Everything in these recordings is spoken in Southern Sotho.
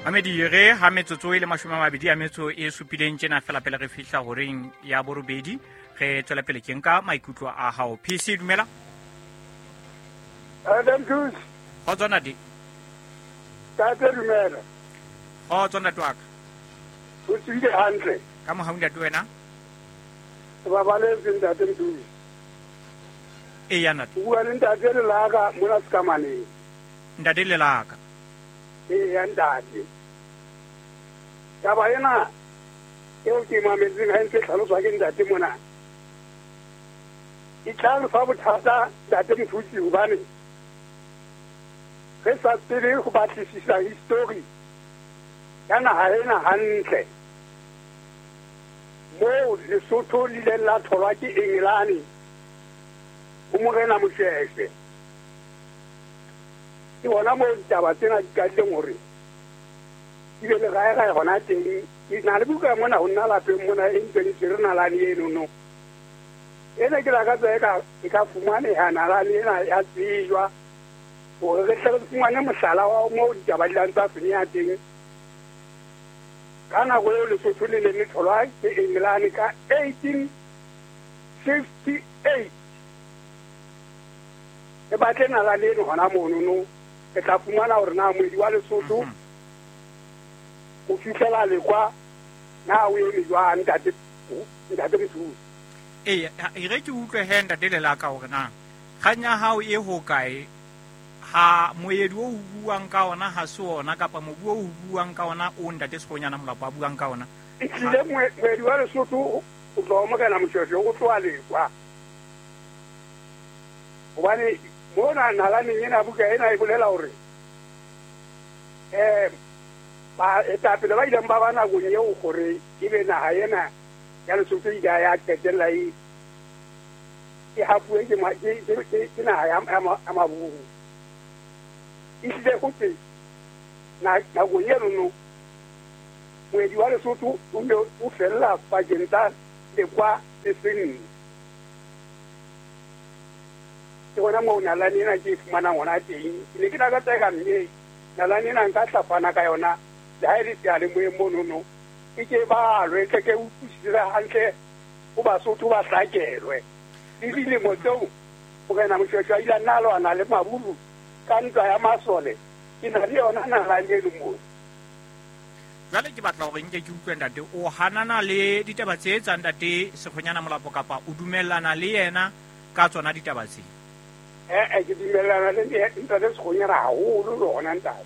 Mamedi re ha metsotso e le 27 tjena fela pele re fihla horeng ya borobedi, re tswela pele ke nka maikutlo a hao. PC dumela. Adam Cruz. Kgotso ntate. Tate dumela. Kgotso ntate wa ka. O tswile hantle. Ka mohau ntate wena. Ke babaletse ntate Mthuse. Eya ntate. O bua le ntate Lelaka mona Sekamaneng. Ntate Lelaka. Eya ntate. Taba ena eo ke mametseng ha ntse tlhaloswa ke ntate mona. E tla re fa bothata ntate Mthuse hobane re sa tsebe ho batlisisa history ya naha ena hantle. Moo Lesotho le ileng la tholwa ke Engelane ho Morena Moshoeshoe. Ke hona moo ditaba tsena di qadileng hore di be le raerae hona teng. Ke na le buka mona ho nna lapeng mona e ntseng e tshwere nalane enono. Ena ke lakatsa e ka fumaneha nalane ena ya tsejwa hore re tle re fumane mohlala wa moo ditaba di lang tsa senyeha teng. Ka nako eo Lesotho le neng le tholwa ke Engelane ka 1858. Re batle nalane eno hona monono, re tla fumana hore na moedi wa Lesotho ho fihlela lekwa na o eme jwang ntate Mthuse. Ee, e re ke utlwe he ntate Lelaka hore na kgang ya hao e hokae. Ha moedi o buang ka ona ha se ona kapa mobu o buang ka ona o ntate Sekgonyana Molapo a buang ka ona. Ehlile moedi wa Lesotho o tloha Morena Moshoeshoe o tloha lekwa. Hobane mona nalaneng ena buka ena e bolela hore baetapele ba ileng ba ba nakong eo hore ebe naha ena ya Lesotho ile ya qetella e hapuwe ke naha ya Maburu. Ehlile ho twe nakong eno no moedi wa Lesotho o ne o fella pakeng tsa Lekwa le Senqu. Ke hona moo nalane ena ke e fumanang hona teng. Ke ne ke lakatsa eka mme nalane ena nka tla fana ka yona le ha e le seyalemoyeng monono. E ke balwe, tle ke utlwisise hantle ho Basotho ba hlakelwe. Le dilemo tseo Morena Moshoeshoe a ile a nna a lwana le Maburu ka ntwa ya masole, ke na le yona nalane eno moo. Jwale ke batla hore nke ke utlwe ntate, o hanana le ditaba tse tsa ntate Sekgonyana Molapo kapa o dumellana le yena ka tsona ditaba tse? Ke dumellana le ntate Sekgonyana haholo le hona ntate.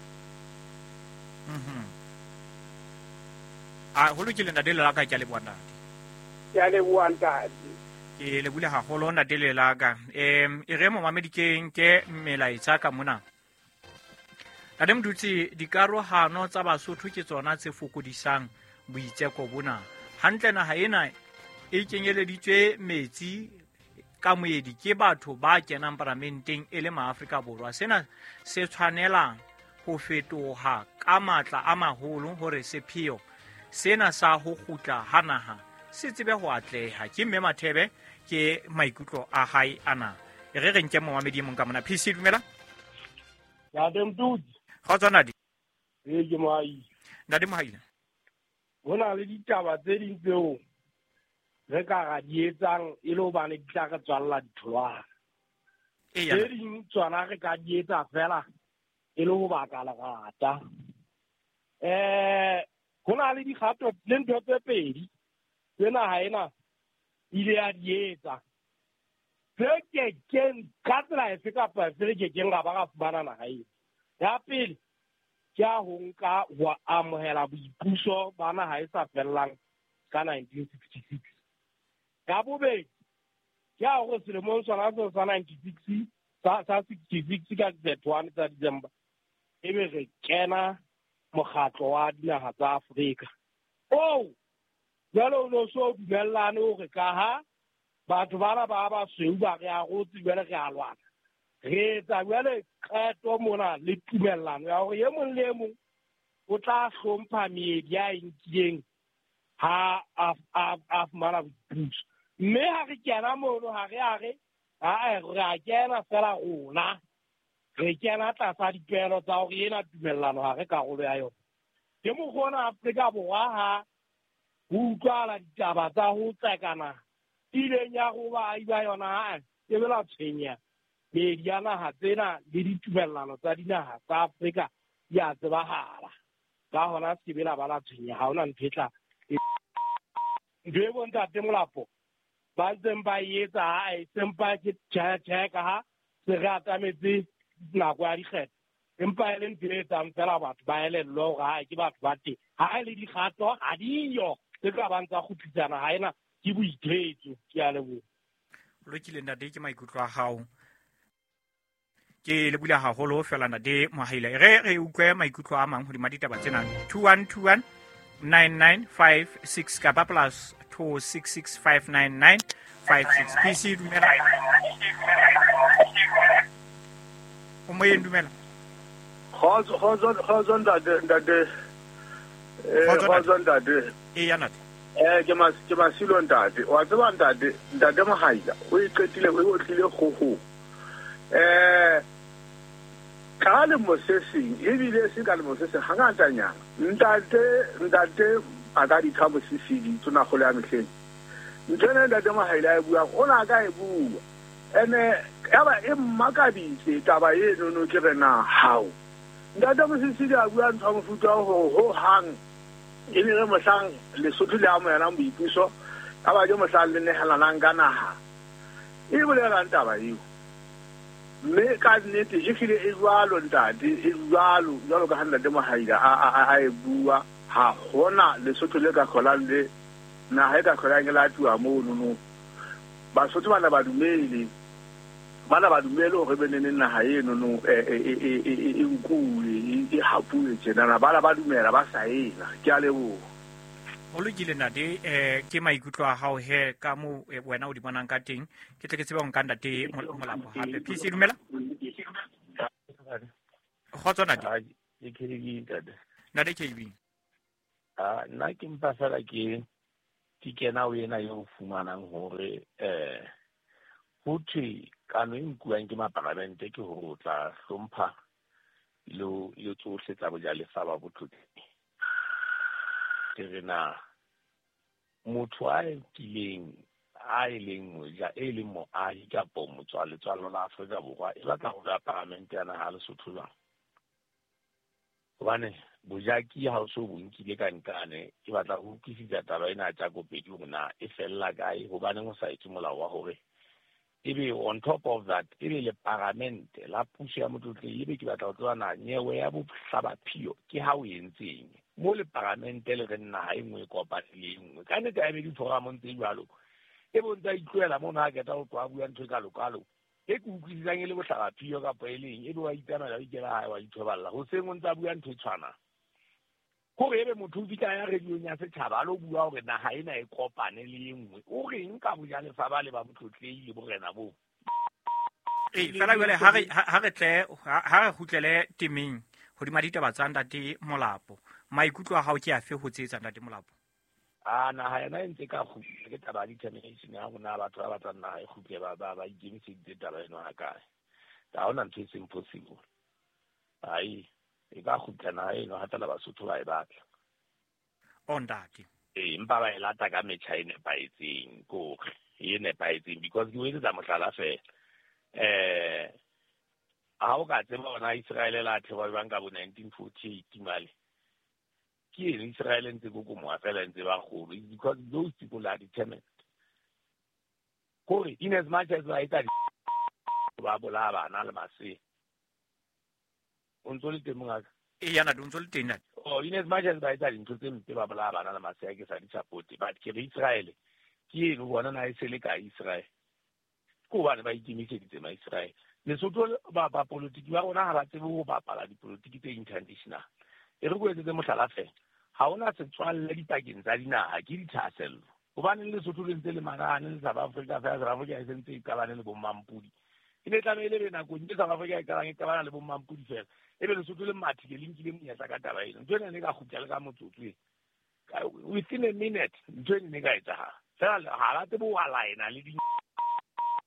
A ho lokile ntate Lelaka, ke a leboha ntate. Ke a leboha ntate. Ke lebule haholo ntate Lelaka. E re momamedi ke nke melaetsa ka mona. Ntate Mdutsi, dikarohano tsa Basotho ke tsona tse fokodisang boitseko bona. Hantle naha ena e kenyeleditswe metsi ka moedi ke batho ba kenang paramenteng e le maAfrika Borwa. Sena se tshwanela ho fetoha ka matla a maholo hore sepheo sena sa ho kgutla ha naha se tsebe ho atleha. Ke Mme Mathebe, ke maikutlo a hae ana. E re re nke momamedi e mong ka mona. PC dumela. Ntate Mdutsi. Kgotso ntate. Ee, ke Mohaile. Ntate Mohaile. Ho na le ditaba tse ding tseo re ka ra di etsang e le hobane di tla re tswalla ditholwana. Tse ding tsona re ka di etsa fela e le ho baka lerata. Ho na le dikgato le ntho tse pedi tse naha ena ile ya di etsa tse kekeng ka tsela efe kapa efe re kekeng ra ba ra fumana naha ena. Ya pele ke ya ho nka ho amohela boipuso ba naha e sa fellang ka 1966. Ya bobedi ke ya hore selemong sona seo sa 96 sa 66 ka 31 tsa December ebe re kena mokgatlo wa dinaha tsa Afrika. Oo jwale o no so dumellane hore ka ha batho bana ba basweu ba re arotse jwale re a lwana. Re etsa jwale qeto mona le tumellano ya hore e mong le e mong o tla hlompha meedi ya e nkileng ha a fumana boipuso. Mme ha re kena mono ha re a re re a kena fela rona. Re kena tlasa dipehelo tsa hore ena tumellano ha re karolo ya yona. Ke mokgwa ona Afrika Borwa ha ho utlwahala ditaba tsa ho tsekana ileng ya go baahi ba yona ha e be la tshwenya meedi ya naha tsena le ditumellano tsa dinaha tsa Afrika di a tsebahala. Ka hona se ke be la ba la tshwenya, ha hona ntho e tla ntho e bontate Molapo ba ntseng ba e etsa ha e sempa ke tjhe ka ha se re atametse nako ya dikgetho, empa e le ntho e etsang fela batho ba elellwe hore ha ke batho ba teng, ha e le dikgato ha diyo tse ka bang tsa kgutlisana ha ena ke boithetso. Ke a leboha. Lokile ntate, ke maikutlo a hao. Ke le bula haholo fela ntate Mohaila. Re utlwe maikutlo a mang hodima ditaba tsena. 2121 9956 kapa plus 26659956. PC dumela. O moyeng, dumela. Kgotso ntate. Kgotso ntate. E ya ntate. Ke Masilo ntate. Wa tseba ntate Mohaila o e qetile o otlile kgoho. Ka lemo se seng ebile se ka lemo se seng hangatanyana ntate a ka ditha Mosisili tsona kgolo ya mehleng. Ntho ena ntate Mohaila e buang o na ka e bua ene yaba e mmakaditse taba eno no ke re na hao. Ntate Mosisili a bua ntho ya mofuta ho hang e ne re mohlang Lesotho le amohelang boipuso ka ba ke mohlang le nehelanang ka naha. E bolelang taba eo. Mme ka nnete e hlile e jwalo ntate, e jwalo jwalo ka ha ntate Mohaila a e bua, ha hona Lesotho le ka hlolang le naha e ka hlolang e latuwa mono no. Basotho bana ba dumele hore be neng naha eno no e nkuwe e hapuwe tjenana, bana ba dumela ba saena. Ke a leboha. Ho lokile ntate, ke maikutlo a hao he ka mo wena o di bonang ka teng. Ke tle ke tsebe ho nka ntate Molapo hape. PC dumela. Kgotso ntate. Ke KB ntate. Ntate KB. Nna ke mpa fela ke kena ho ena eo fumanang hore ho thwe kano e nkuwang ke maparamente ke hore o tla hlompha le tsohle tsa bojalefa ba botlotlehi. Ke re na motho a kileng a e leng moja e leng moahi kapo motswaletswalo la Afrika Borwa e batla ho ba paramente ya naha Lesotho jwang? Hobane bojaki ha o so bo nkile ka nkane, ke batla ho utlwisisa taba ena ya Tjakopedi hore na e fella kae, hobaneng o sa etse molao wa hore ebe on top of that ebe le paramente la puso ya motlotlehi, ebe ke batla ho tseba na nyewe ya bohlabaphio ke ha o entseng mo le paramente le re naha e nngwe e kopane le e nngwe. Ka nnete ha ebe diforamong tse jwalo e bontsa itlohela mono ha keta ho tloha bua ntho e kalokalo e ke utlwisisang e le bohlabaphio kapa e leng, ebe wa itsamaela o ikela hae wa ithoballa hoseng o ntsa bua ntho e tshwanang. Hore ebe motho o fihla ya radiong ya setjhaba a lo bua hore naha ena e kopane le e nngwe, o reng ka bojalefa ba le ba botlotlehi le borena boo? Fela jwale ha re tle ha re kgutlele temeng hodima ditaba tsa ntate Molapo. Maikutlo a hao ke afe ho tse ntate Molapo? Naha yona e ntse ka kgutla ke taba ya determination ya rona batho ba batlang naha e kgutle ba ikemiseditse taba eno ha kae. Ha hona ntho e seng possible. Ai e ka kgutla naha eno ha fela Basotho ba e batla. O ntate. Empa ba e lata ka metjha e nepahetseng, ke hore e nepahetseng because ke o etsetsa mohlala fela. Ha o ka tseba hona Israel la thewa jwang ka bo 1948 male. Ke eng Israel ntse kokomoha fela ntse ba kgolo because those people are determined. Kore in as much as ba etsa ba bolaya bana le masea. O ntso le teng mongaka? Eya ntate, o ntso le teng ntate. Oh, in as much as ba etsa dintho tse mpe ba bolaya bana le masea ke sa di support, but ke re Israel ke eno bona na e se le ka Israel. Ke hobane ba ikemiseditse ma Israel. Lesotho ba politiki ba rona ha ba tsebe ho bapala dipolotiki tse international. E re ko etsetse mohlala fela. Ha hona setswalle dipakeng tsa dinaha ke dithahasello. Hobane Lesotho le ntse le marane le South Africa fela, South Africa e sentse e qabane le bommampodi. E ne tlamehile be nakong e South Africa e qabang e qabana le bommampodi fela. Ebe Lesotho le mathile le nkile monyetla ka taba eno. Ntho ena ne ka kgutla le ka motsotso e. Within a minute ntho ena ne ka etsahala. Fela ha ba tsebe ho align-a le di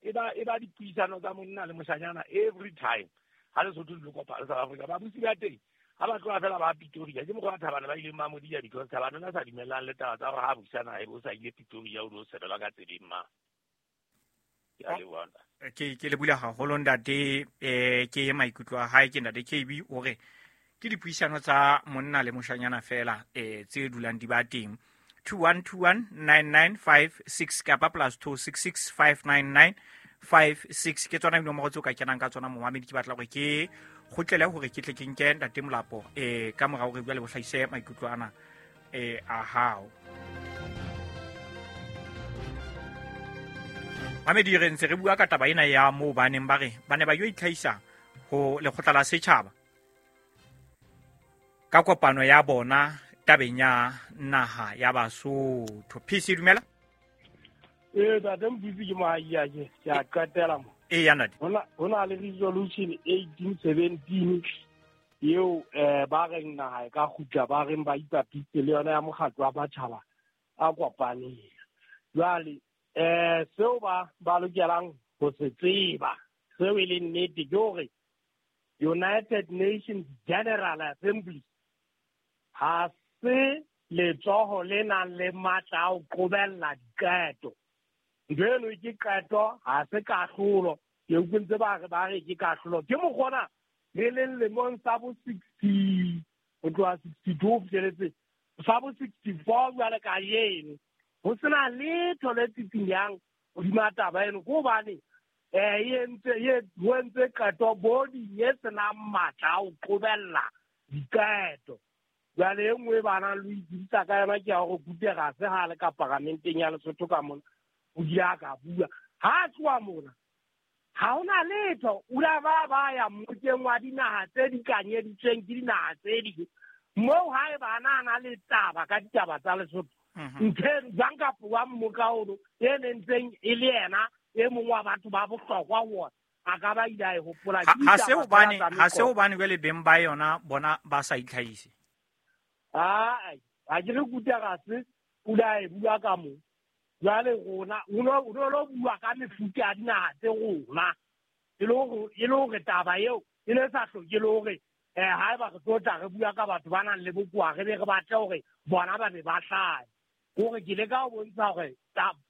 e ba dipuisano tsa monna le moshanyana every time. Ha Lesotho le kopa le South Africa ba busi ba teng. Ha ba tloha fela ba Pretoria ke mokgwa wa Thabane ba ileng ba mo dia because Thabane o ne a sa dumellang le taba tsa hore ha busa naha ebe o sa ile Pretoria o lo sebelwa ka tseleng ma. Ke a leboha ntate. Ke lebohile haholo ntate, ke maikutlo a hae ke ntate KB o re ke dipuisano tsa monna le moshanyana fela tse dulang di ba teng. 21219956 kapa +266 59956 ke tsona dinomoro tseo ka kenang ka tsona momamedi. Ke batla hore ke kgutlele hore ke tle ke nke ntate Molapo ka mora hore jwale bo hlahise maikutlo ana a hao. Mamedi, re ntse re bua ka taba ena ya moo ba neng ba re ba ne ba yo itlhahisa ho lekgotla la setjhaba ka kopano ya bona tabeng ya naha ya Basotho. PC dumela. Ntate Motutsi ke moahi ke a qetela mo. Ya ntate. Ho na le resolution 1817 eo ba reng naha e ka kgutla, ba reng ba ipapitse le yona ya mokgatlo wa matjhaba a kopaneng. Jwale seo ba lokelang ho se tseba, seo e leng nnete ke hore United Nations General Assembly ha se letsoho le nang le matla a ho qobella diqeto. Ntho eno ke qeto, ha se kahlolo. Ke utlwe ntse ba re ke kahlolo. Ke mokgona re leng lemong sa bo 60 ho tloha 62 ho fihleletse sa bo 64 jwale ka eno. Ho sena letho le tsitsinyang hodima taba eno, ke hobane ho entse qeto boding e senang matla a ho qobella diqeto. Jwale e nngwe ba nang le ho itsebisa ka yona ke ya hore Guterres ha le ka paramenteng ya Lesotho ka mona o ile a ka bua. Ha a tloha mona ha hona letho, o la ba ya mmokeng wa dinaha tse dikanyeditsweng ke dinaha tse ding moo ha e ba na le taba ka ditaba tsa Lesotho. Ntho jwang kapa wa mmoka ono e nentseng e le yena e mong wa batho ba bohlokwa ho ona a ka ba ile a e hopola. Ha se hobane jwale beng ba yona bona ba sa itlhahise. Ha ke re Guterres o ile a e bua ka moo. Jwale rona o no bua ka mefuta ya dinaha tse rona e le hore taba eo e ne sa hloke le hore haeba re tlo tla re bua ka batho ba nang le bokowa re be re batle hore bona ba be ba hlahe. Hore ke leka ho bontsha hore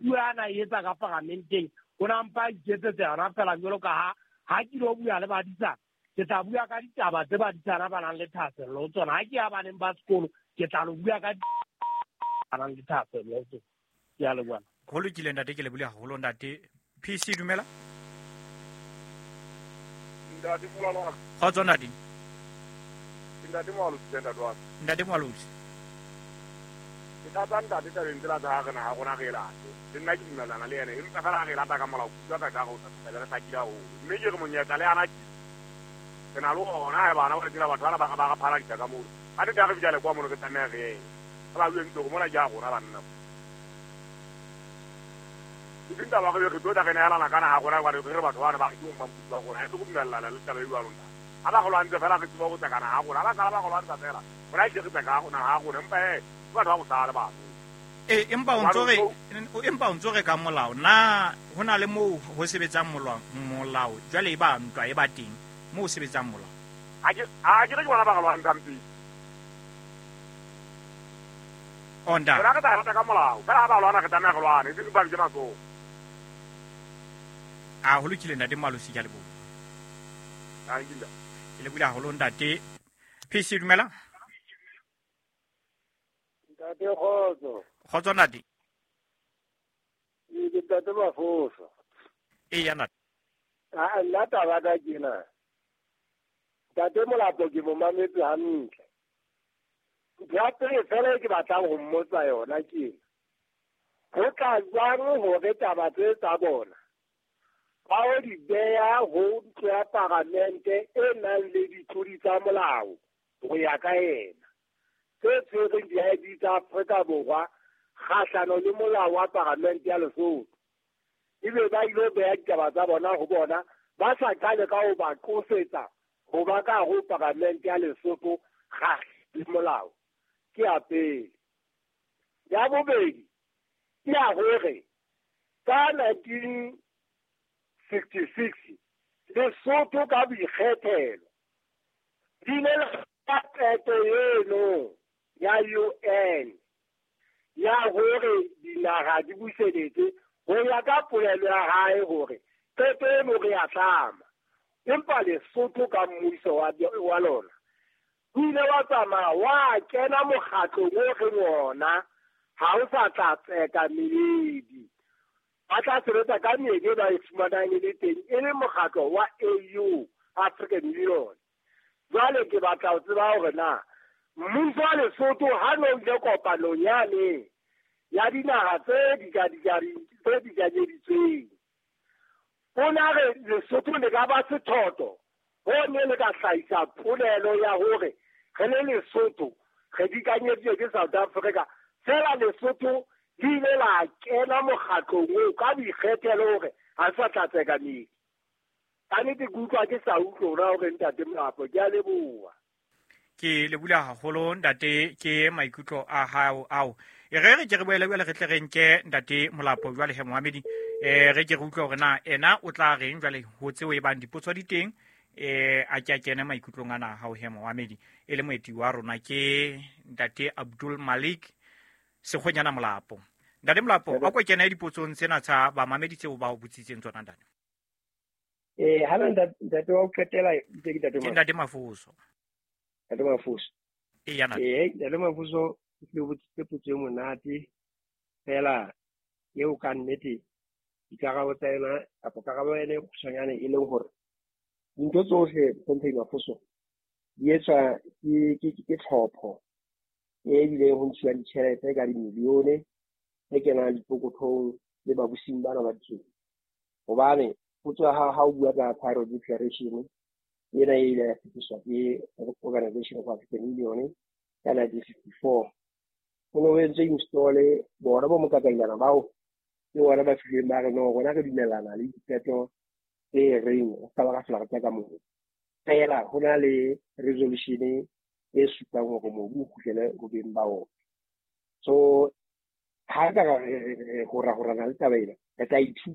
puo ana e etsa ka paramenteng o na mpa iketsetsa yona fela jwalo ka ha ke lo bua le badisana, ke tla bua ka ditaba tse badisana ba nang le thahasello ho tsona. Ha ke ya baneng ba sekolo ke tla lo bua ka ba nang le thahasello ho tsona. Ke a leboha. Ho lokile ntate, ke lebohile haholo ntate. PC dumela. Ntate Molalo. Kgotso ntate. Ntate Moalosi, ntate wa. Ntate Moalosi. Ke tlatsa ntate tabeng tsela tsa ha re naha rona re e late. Le nna ke dumellana le yena, empa fela ha re e lata ka molao, kutlwa ka ka re o tla re hlakile haholo. Mme ke re monyetla le ana ke na le ona ha bana ba tsela batho bana ba re phaladisa ka moo. Ha re tla re bitsa le kwa mono re tlameha re ye. Ha ba bue ntho mona ke ya rona banna. Ke taba re re tlo tla re nehelana ka naha rona hobane re batho bana ba re ke ba rona. Ha re go dumellana le taba e jwalo nna. Ha ba go lwantse fela re tseba go tseka naha rona. Ha ba qala ba go lwantsha fela. Rona ke re tseka naha rona empa batho ba go sala batho. Empa o ntso re ka molao na hona le moo ho sebetsang molao jwale e ba ntwa e ba teng moo ho sebetsang molao. Ha ke re ke bona ba go lwantshang pele. Onda. Rona re tla rata ka molao. Fela ha ba lwana re tlameha re lwane, e seng ba ke matsoho. A ho lokile ntate Malosi, ke a leboha. Ke lebohile haholo ntate. PC dumela. Ntate kgotso. Kgotso ntate. Ke ntate Mafoso. Eya ntate. Nna taba ka kena. Ntate Molapo ke mo mametse hantle. Ntho ya pele fela e ke batlang ho mmotsa yona ke ena. Ho tla jwang hore taba tse tsa bona ba o di beha ho ntlo ya paramente e nang le ditlodi tsa molao ho ya ka yena tse tshwereng di-ID tsa Afrika Borwa kgahlano le molao wa paramente ya Lesotho, ebe ba ilo beha ditaba tsa bona ho bona ba sa qale ka ho ba qosetsa ho ba ka ho paramente ya Lesotho kgahlano le molao. Ke ya pele. Ya bobedi ke ya hore ka 1966 Lesotho ka boikgethelo di ile la Qeto eno ya UN ya hore dinaha di buseletse ho ya ka polelo ya hae hore qeto eno re ya tlama, empa Lesotho ka mmuso wa lona o ile wa tsamaya wa kena mokgatlong o reng ona ha o sa tla tseka meedi, ba tla sebetsa ka meedi e ba e fumanang e le teng e le mokgatlo wa AU, African Union. Jwale ke batla ho tseba hore na mmuso wa Lesotho ha no ile kopanong yane ya dinaha tse dikanyeditsweng, o na re Lesotho le ka ba sethotho ho ne le ka hlahisa polelo ya hore re le Lesotho re dikanyeditswe ke South Africa, fela Lesotho le ile la kena mokgatlong oo ka boikgethelo hore ha sa tla tseka meedi. Ka nnete ke utlwa ke sa utlwe hona hore ntate Molapo, ke a leboha. Ke lebula haholo ntate ke maikutlo a hao ao. E re re ke re boele jwale re tle re nke ntate Molapo jwale he moamedi, re ke re utlwe hore na ena o tla reng jwale ho tseo e bang dipotso di teng, a ke a kene maikutlong ana hao he moamedi. E le moeti wa rona ke ntate Abdul Malik Sekgonyana Molapo. Ntate Molapo, a ko kene dipotsong tsena tsa bamamedi tseo ba o botsitseng tsona ntate. Ha ntate wa o qetela itse ke ntate Ke ntate Mafoso. Ntate Mafoso. Eya ntate. Ntate Mafoso o tlile botsitse potso e monate fela eo ka nnete dikarabo tsa yona kapa karabo ya yona e kgutshwanyane e leng hore dintho tsohle Hlomphehi Mafoso di etswa ke tlhopho e bileng ho ntshiwa ditjhelete ka dimilione tse kenang dipokothong le babusing bana ba ditjhele. Hobane potso ya hao ha o bua ka Cairo Declaration ena e ile ya fetiswa ke Organization of African Union ka 1954, ho ne ho entswe install bona bo mokakailana bao ke bona ba fihlileng ba re no rona re dumellana le diqeto tse reng re ska ba ra hlola re tseka mobu. Fela ho na le resolution e supang hore mobu o kgutlele ho beng ba ona. So ha ka re horahorana le taba ena, re tla ithuta.